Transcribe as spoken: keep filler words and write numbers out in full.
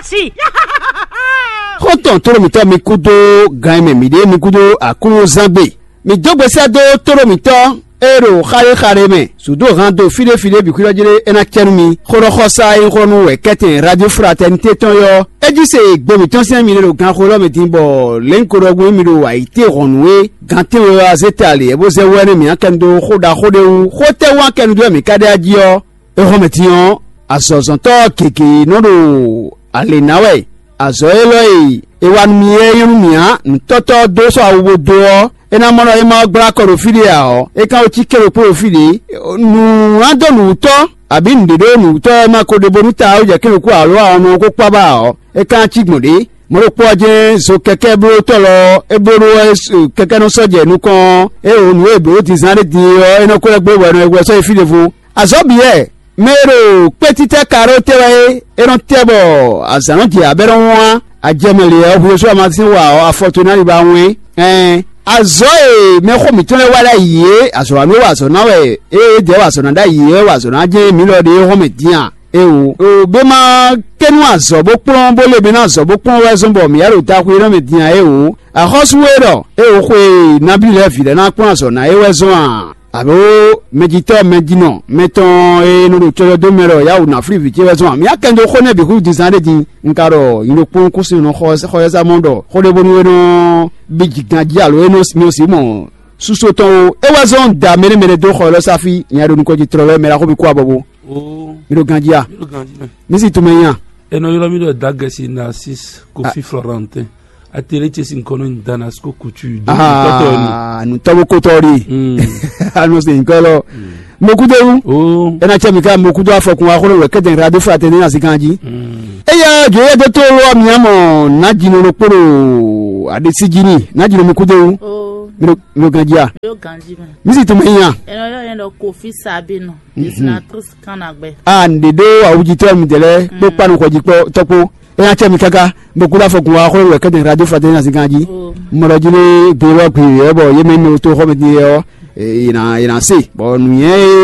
Sí. Xɔ́ntɔn tóɖó mǐtɔn mi kúdó gan e mɛ mǐ ɖe mi kúdó Aklúnɔzán gbe. Mǐ dó gbe sɛ́ dó tóɖó mǐtɔn e ɖo xaɖéxaɖé mɛ, sǔdó han do fíɖéfíɖé bǐ xwíɖɔ́ jlé é ná cɛ nú mi. Xó ɖɔ xɔsá e nyí xó nú wɛ kɛ́tɛn Radio Fraternité tɔn yɔ́, é jí se gbe mǐtɔn sín mi ɖo ganxó élɔ́ mɛ din bɔ lěnkodɔ́gbɛ́n mi ɖo ayǐtéhɔ̌nnu é. Gan tɛ́nwe wɛ wá zé ta lě, bó zɛ wɛ́ nú mǐ akɛnu dó xó ɖaxó ɖé wú. Xó tɛ́ wú akɛnu dó wɛ mǐ ka ɖe ají ɔ́? Éhɔ́mɛtín ɔ́, azɔ̌zɔ́ntɔ́ gěgé nɔ ɖo alě ná wɛ. Azɔ̌ élɔ́ e è wa nú mì é nyɔ́ nú mì ǎ. Nǔtɔ́tɔ́ ɔ́ dó sɔ́ awu bó dó ɔ́, é ná mɔ ɖɔ é ma wá gblá kɔ ɖo fí ɖé ǎ ɔ́, é ka wǒ cí kélokpó ɖo fí ɖě. Nǔ ná dó nǔwútɔ́, abǐ nǔɖé ɖó nǔwútɔ́ e ma ko ɖe bónú ta ɔ́ jɛ kélokpó alo awɔnɔ ɔ́ kó kpá ba ɔ́, é ka ná cí gbɔn ɖě. Mɔ̌ ɖokpó ɔ́ jɛ́n zo kɛkɛ́blótɔ́ lɔ é bló ɖó wɛ kɛkɛ́nɔsɔ́jɛ nukɔn ɔ́, é wǒ nǔ e è blǒ dǐnzán ɖé din é ɔ́, é nɔ ko lɛ́ gblé bɔ è nɔ yi hwɛ sɔ́ yi fí ɖěvo. Azɔ̌ bǐ wɛ, mɛ e ɖo kpétítɛ́ ka ɖó te wɛ é, é nɔ tɛ bɔ azǎn nɔ jɛ abɛ́ nɔ wán. Ajɛmɛ lě ɔ́, hwesú amasin wa ɔ́, afɔ towe ná li ba wɛn. Ɛn azɔ̌ e mɛxó mǐtɔn lɛ́ɛ wa ɖ'ayǐ é, azɔ̌ wa nú wa azɔ̌ ná wɛ é, é dɛ̌ wa azɔ̌ ná ɖ'ayǐ é, wa azɔ̌ ná jɛ́n mǐ lɔ ɖe é hɔn mɛ din a? Éeǒ, bě ma kɛ́nú azɔ̌ bó kplɔ́n bó lé mɛ ná azɔ̌ bó kplɔ́n wɛ zɔ́n bɔ mǐ yá ɖo taxu e nɔ mɛ din ǎ. Éeǒ, axɔ́sú e ɖɔ éeǒ xwe e nabí lɛ́ɛ vǐ lɛ́ɛ ná kplɔ́n azɔ̌ ná é wɛ zɔ́n a? Alo mɛjitɔ́ mɛjinɔ mɛtɔn e nɔ ɖo cɔjɔ dó mɛ ɖɔ yá wǔ ná flí vǐ ce wɛ zɔ́n a? Mǐ yá kɛn dó xó nɛ́ bǐ xwú dizan ɖé din. Un ka ɖɔ nyi ɖokpónɔ kúsin nɔ xɔ xɔ yɛ́sá mɔ ɖɔ xó ɖé bónú é nɔ bí jǐgan jí alo é nɔ nyɔ sí mɔ súsó tɔn ó. É wɛ zɔ́n da mɛɖé mɛɖé dó xɔ élɔ́ sáfí nya ɖo nukɔn jí tlɔlɔ́ mɛ ɖaxó bí kú abɔbó. Oh, mi ɖo ganjí a? Mi ɖo ganjí mɛ. Mi si tunmɛ nya. Enɔ ylɔ́ mì ɖɔ Dagɛsi Narcisse Kofi Florentin. Atele ce sin kɔnɔ nyi Damasco Couture. Tɔtɔ ni. Ah, nu tɔbu kotɔ ɖi. Anu se nkɔ lɔ. Mokudewu. Oh. Ena cɛ mi ka mokudo afɔkun wa xolo wɛ kɛtɛ radio fraternité na sikan ji. Eya jo ye do to lo mi amo na jino lo kporo adesi jini na jino mokudewu. Oh. Mi lo ganji a. Yo ganji mɛ. Mi si tunmɛ nya. Enɔ ylɔ́ yɛn ɖɔ Kofi Sabino. Dessinatrice kan na gbɛ. A n ɖe ɖo awujitɔ mi dɛlɛ kpó kpanu xɔji kpɔ tɔkpo. Eya cɛ mi kaka, bó kúɖa fɔ kun wa xɔ wɛ kɛtɛ radio fraternité na sikan ji. Mɔɖɔ ji lé gbé lɔ gbé yɛ bɔ yé mɛ mi to xɔ mi di yɛ ɔ. Yina yina se bɔ nuyɛ.